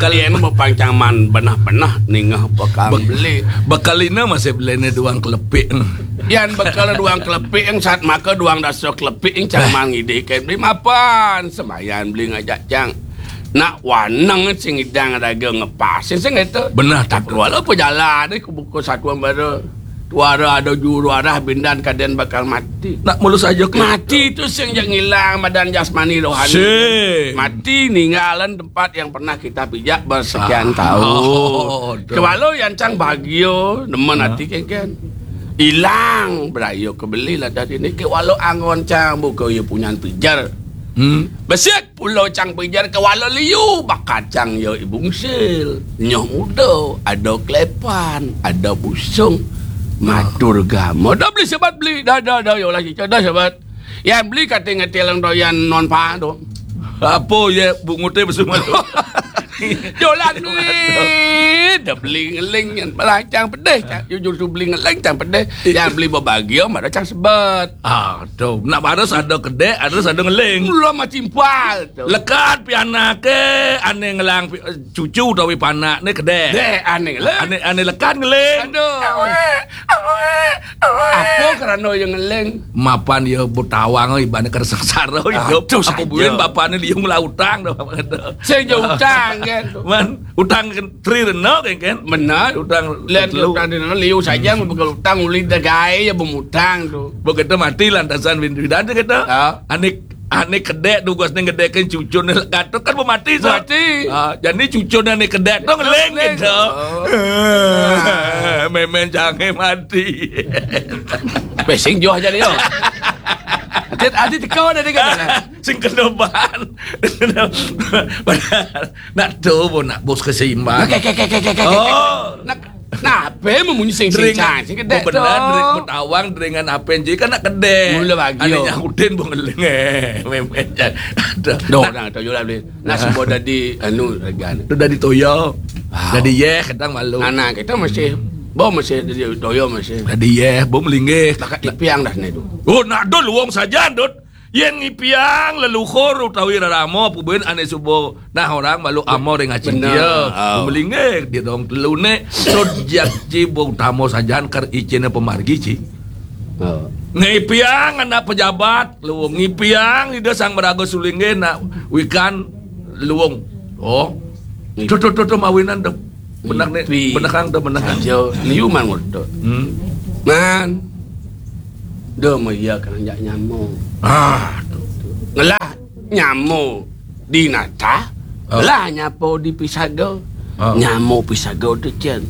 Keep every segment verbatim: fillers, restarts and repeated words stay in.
Kali ini mau pang cang maan benah-benah ningeh bekal Bek-, beli. Bekal ini masih beli ni duang kelepik. Yan bekal duang kelepik, yang saat maka duang dasa kelepik, yang cang maan ngidih ke beli mapan. Semayan beli ngajak cang. Nak waneng sing idang raga ngepas. Sing, sing itu. Benar, tak perlu ada apa jalan ni, ku buka satuan baru. Tuara ada juru arah bindan kaden bakal mati. Nak mulus aja ke mati itu sing jak ngilang badan jasmani rohani. Sing. Mati ninggalan tempat yang pernah kita pijak bersekian tahun. Oh, tu. Kewalo yang cang bagio, nemen hati kengken. Ilang berayo kebeli lah tadi ni. Kewalo angon cang buka ya punyan pijar. Hmm. Besik pulau cang pijar kewalo liu, bakacang ya ibungsil. Nyoh muda, ada kelepan, ada busung. Matur gama. Dah beli sebat beli. Dah, dah, dah, ya Allah, dah sebat. Yang beli kata ngetelang doyan non pa tu. Apa ya bungut dia bersama tu? Jolan duit. Dah beli ngeling yang belacang pedih. Cang, jujur tu beli ngeling cang pedih. Yang beli berbahagia, mada cang sebet. Ah, tu. Nak baru ada kedek, ada ada ngeling. Mula macam pal tu. Lekat pianak ke, ane ngelang pi-, cucu tawi panak ni kedek. Dek, ane ngeling. Ane, ane lekat ngeling. Aduh. Apa kerana yang ngeling? Mapan ya butawang ibaratnya kena sengsara hidup. Aduh, apa saja. Buin bapaknya liung lah utang dah, apa kata. Saya je utang kan. Man, utang kan tri rena kan, kan? Benar. Utang lian telu. Utang di mana liu saja, hmm, begal utang uli dagai ya bermutang tu. Begitu mati lantasan bin bidan tu kata. Ha? Anik Ane kedek tu, guas ni ngedekin cucu ni lekat tu kan mati, so. Mati. Ah, jadi cucu ni ane kedek tu ngeling gitu. Oh. Memen jangan mati. Pesing joh jadi yo. Atit, atit kau dah dengar. Sing kena ban. Nak tu pun nak bos keseimbangan. Oke, oke, oke, oke, oke. Oh. Nak Nah, apa yang memunyi sing-sing cang, sing kedek tu? Benar, dering betawang, deringan apa yang jadi kan nak kedek. Mula bagi, ane yo. Nyahutin bengeling, eh, memen jan. Ada. Doh, nak, dah, toyo lah, boleh. Nak semua dadi, anu, regan. Tu dadi toyo. Wow. Dadi yeh, kadang malu. Anak kita masih, bo masih dadi toyo masih. Dadi yeh, bo melinggih. Bakat ipiang dah sini tu. Oh, nak dul wong sajan, Dut. Yen ngipiang leluhur utawi rerama, pubuin ane suba nah orang malu amo ring acin dia. Bener. Oh. Melinggih dia dong telune, sud jak ci bo utama sajan kar icine pemargi ci. Oh. Ngipiang anak pejabat, luung ngipiang ida sang meraga sulinggih nak wikan luung. Oh. Tuh, tuh, tuh, tuh, mawinan tuh. Benak ni, benak kang tuh, benak kang. Aja, liu man ngurut. Hmm. Man. Dah maya kang jak nyamo. Ah, tuh. Ngelah nyamo di nata, oh, lah nyapo di pisaga. Oh. Nyamo pisaga tu cen.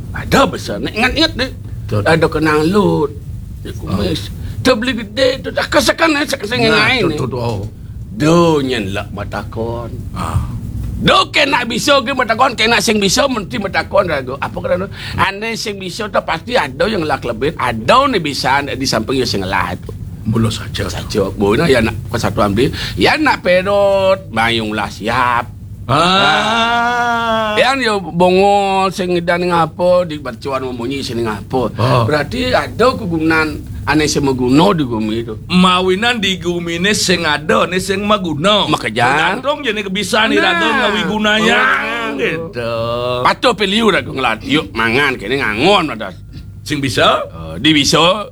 Ada besar, nak ingat-ingat deh. Betul. Ada kenang lut. Dia kumis. Oh. Dia beli gede tu, tak kesekan, eh, sekan-sekan. Nah, ngai tu, ni. Tu, tu, oh. Do nyen lak matakon. Ah. Do kena bisa ke matakon, kena sing bisa mesti matakon raga. Apa kerana? Ane sing bisa tu pasti ada yang lak lebih, ada ni bisa di samping yang sing lah tu. Mula saja. Saja. Bona ya nak persatuan beli. Ya nak perut, mayung lah siap. Ah. Yang dia bongol sing dan ngapa di cuan memunyi sini ngapa. Oh. Berarti ada kegunaan ane semeguna di gumi tu. Mawinan di gumi ni sing ada, ni sing maguna. Makanya. Tergantung je ni kebisan ni, nah, tergantung ngawi gunanya. Gitu. Patuh piliu dah ngelat. Yuk mangan kini ngangon ada. Sing bisa? Uh, di bisa.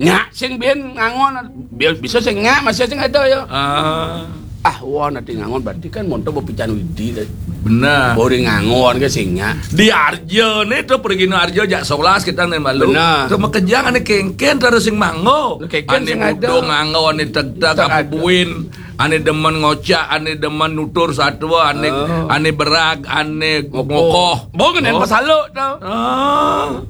Nyak sing bin ngangon. Bi-, bisa sing nyak, masih sing ada ya. Ah. Ah, wah, nanti ngangon berarti kan monto bepican widi tadi. Benar. Bori ngangon ke sing nyak. Di Arjo ni tu pergi no Arjo jak solas kita ni malu. Benar. Tu makejang ane kengken terus sing manggo. Kengken ane sing ada. Mudo nganggo, ane tegteg, tak ada. Buin, ane demen ngocak, ane demen nutur satwa, ane, oh, ane berag, ane ngokoh. Ngokoh. Bo kena, oh, pasaluk tu. Ah.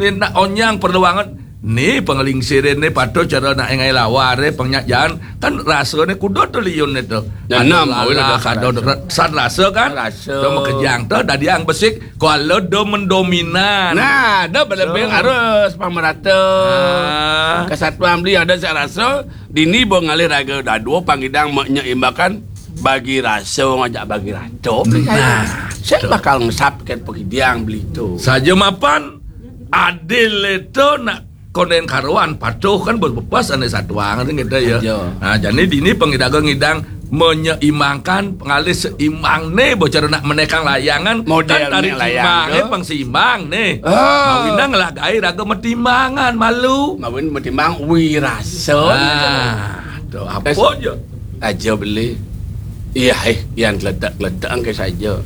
Ni nak onyang perlu banget. Ni pengelingsir ni patuh cara nak engai lawar, eh, pengnyak jalan. Kan rasa ni kuda tu liun ni tu. Ya, ada enam, lalah, awal ada ada rasa. San rasa kan? Rasa. Tu makejang tu dadi ang besik, kalau do mendominan. Nah, dah berlebih harus pamerata. Ah. Kesatuan beli ada sak rasa, dini bo ngalih raga dadua pangidang menyeimbangkan bagi rasa ngajak bagi rata. Nah, saya betul. Bakal ngesap ke pengidang beli tu. Saja mapan adil itu nak konen karuan patuh kan berbepas ane satuang kan kita ya. Ya. Nah, jadi dini pengidaga ngidang menyeimbangkan, pengalih seimbang né, bocor nak menékang layangan, modél kan tari menék layang timbangé tu. Pang seimbang né. Ah. Mawinan ngelah gaé raga matimbangan malu. Mawinan matimbang wirasa. Ah, tu apa aja? Aja beli. Iya, eh, yan gledak-gledak angké saja.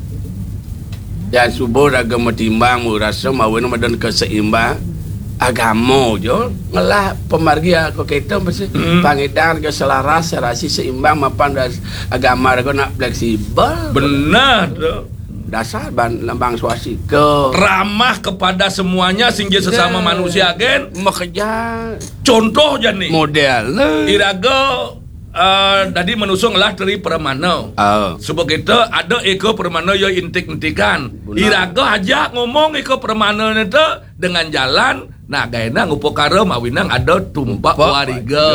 Yan subuh raga matimbang wirasa mawinan madan keseimbang. Agama jo ngelah pamargi aku kita mesti pangidang ke selaras, serasi, seimbang mapan das agama raga nak fleksibel. Benar tu. Dasar ban lembang swastika. Ramah kepada semuanya, sing ja sesama manusia gén. Makeja. Contoh jani. Modél. Iraga, eh, dadi manusa ngelah tri pramana. Ah. Suba kita ada eka pramana ya intik-intikan. Benar. Iraga aja ngomong eka pramana né te dengan jalan, nah, gaéna ngupakara mawinan ada tumpak wariga,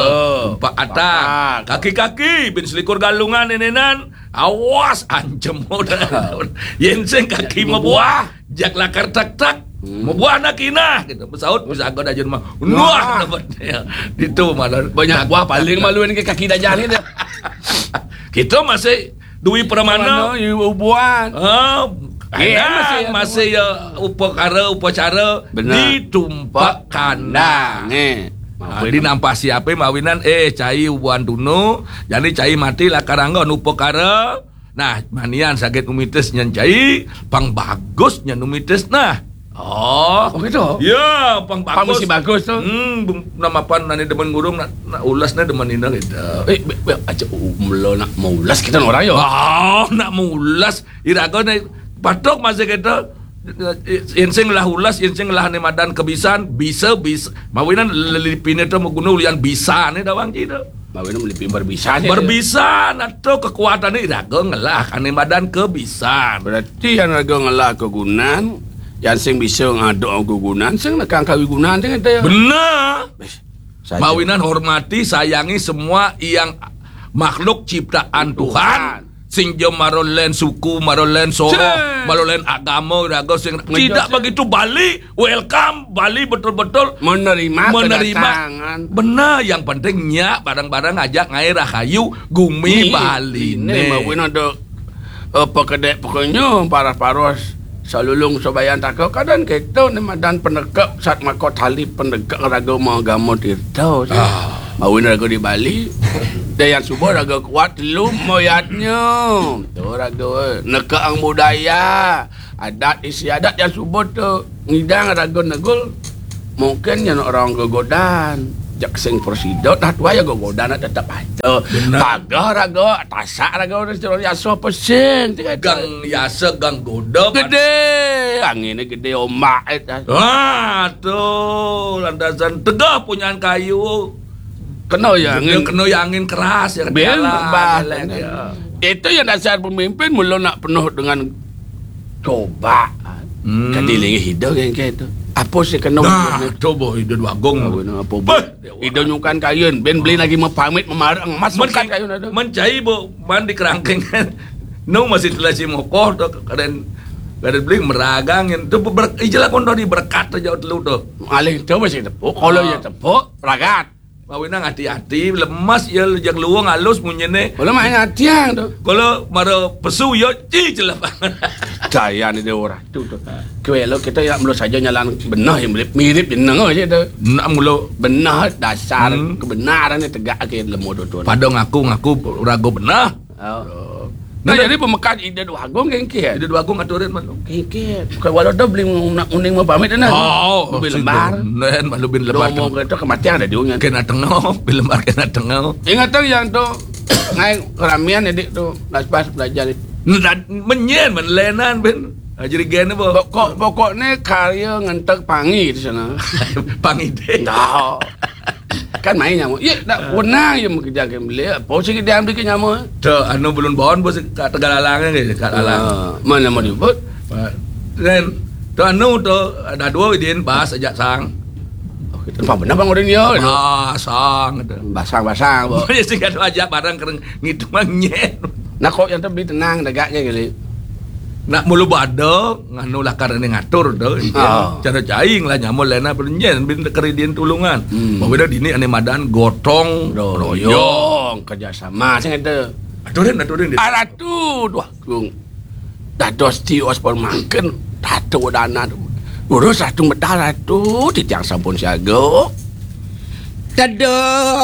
tumpak atak. Kaki-kaki bin selikur galungan nénénan, awas ancem udah. Yén sing kaki mabuah, jak lakar tak-tak. Mabuah nak kinah gitu. Besaut bisa agak dajun mah. Nuah dapat ya. Itu malah banyak buah paling maluin ke kaki dajah gitu. Kita masih duit pramana. Pramana, iya, ubuan. Ah, masih ya, masih ya upakara, upacara. Benar. Di tumpak kandang. Kandang, eh. Ah, di nampa siapa mawinan, eh, cai ubuan tunu, jadi cai mati lakar anggon upakara. Nah, manian sakit umitis nyen cai, pang bagus nyen umitis nah. Oh. Oh, gitu? Ya, pang bagus. Pang mesti bagus tu. Hmm, bung-, nama apa nani demen ngurung nak, nak ulas nah demen ina gitu. Eh, be, be, aja umlo nak maulas kita orang ya. Oh, nak maulas. Iraga né patok masih kita. Yén sing lah ulas, yén sing lah né madan kebisan, bisa, bisa. Mawinan lelipiné to maguna ulian bisané dawang cita. Mawinan melipi berbisan ya. Berbisan atau kekuatané iraga ngelah ané madan kebisan. Berarti yan raga ngelah kegunan, yan sing bisa ngaduk kegunan, sing nekang kawigunan sing kita ya. Benar. Saja. Mawinan hormati, sayangi semua yang makhluk ciptaan Tuhan. Tuhan. Sing ja mara lén suku, mara lén soroh, mara lén agama, raga sing tidak begitu Bali, welcome, Bali betul-betul menerima, menerima kedatangan. Benar, yang penting nyak bareng-bareng ajak ngaé rahayu gumi Bali né. Mawinan ada, eh, pekedek pokoknya paras-paros. Salulung sabayan taka kadén kéto né madan penegak sat maka tali penegak raga maagama tirta. Ah. Mawinan raga di Bali. Dayan suba raga kuat telu moyatnya. Tu raga nekaang budaya, adat istiadat yan suba tu ngidang raga negul. Mungkin nyen orang gegodan. Jak sing prasida, nah tuai ya gegodan tetep aja. Benar. Pagah raga, tasak raga, orang secara yasa pesing. Gang yasa, gang goda. Gedé, anginné gedé, ombak. Wah, tu lantasan tegah punyan kayu. Kena ya angin. Kena ya angin keras ya. Itu yang dasar pemimpin mula nak penuh dengan cobaan. Hmm. Kadi linggih ida kan ke tu. Apa sih kena? Nah, coba ida dua gong. Apa, apa, bah, ida nyukan kayun, ben beli lagi mepamit memarang masuk men, kat kayun ada. Men cai bu, man di kerangkeng. Nu masih telah si mokoh tu, kadang, kadang beli meragang yang tu ber, ijelah kondo di berkat tu jauh telu tu. Alih tu masih tepuk, kalau ya tepuk, ragat. Mawinang hati-hati, lemas ya, yang luang halus munyiné. Kalau main hati yang tu. Kalau mara pesu ya, ci celap. Daya ni dia orang tu tu. Kue lo kita ya mula saja nyalan benar yang mirip, mirip jeneng aja tu. Nak mula benar dasar kebenaran ni tegak ke lemu tu tu. Pada ngaku-ngaku ragu benar. Oh. Nah, jadi pemekat Ida Dua Agung kengkit. Ida Dua Agung aturin mano? Kengkit. Bukan walau dah beli nak uning mau pamit dah. Oh, beli lembar. Nen malu beli lembar. Domo kereta kematian ada diunya. Kena tengok, beli lembar kena tengok. Ingat tu yang tu ngai keramian adik tu, pas belajar. Menyen menlenan ben. Jadi gen apa? Pokok pokok ni karya ngentek pangi di sana. Pangi deh. Dah. Kan main nyamuk. Ya, tak pernah ya mengejar ke beli. Apa sih dia ambil ke nyamuk? Tu anu belum bon bos kat Tegalalang ke kat Alang. Ah, mana mau dibuat? Dan tu anu tu ada dua idin bas ajak sang. Oh, kita nampak benar bang orang dia. Ah, sang tu. Basang-basang, bo. Boleh sih kalau ajak barang kering ngitung manyen. Nah, kok yang tu beli tenang dagaknya kali. Nak mulu bada nganu lakar ni ngatur tu. Ah. Cara caing lah nyamul lena penyen bin keridin tulungan. Hmm. Bawa dah dini ane madan gotong royong. Royong kerjasama sing ada. Aturin, aturin. Ah, Ratu, duh, Agung. Dados tios pun mangkin, Ratu danan. Durus Ratu medal, Ratu, titiang sampun siaga. Dados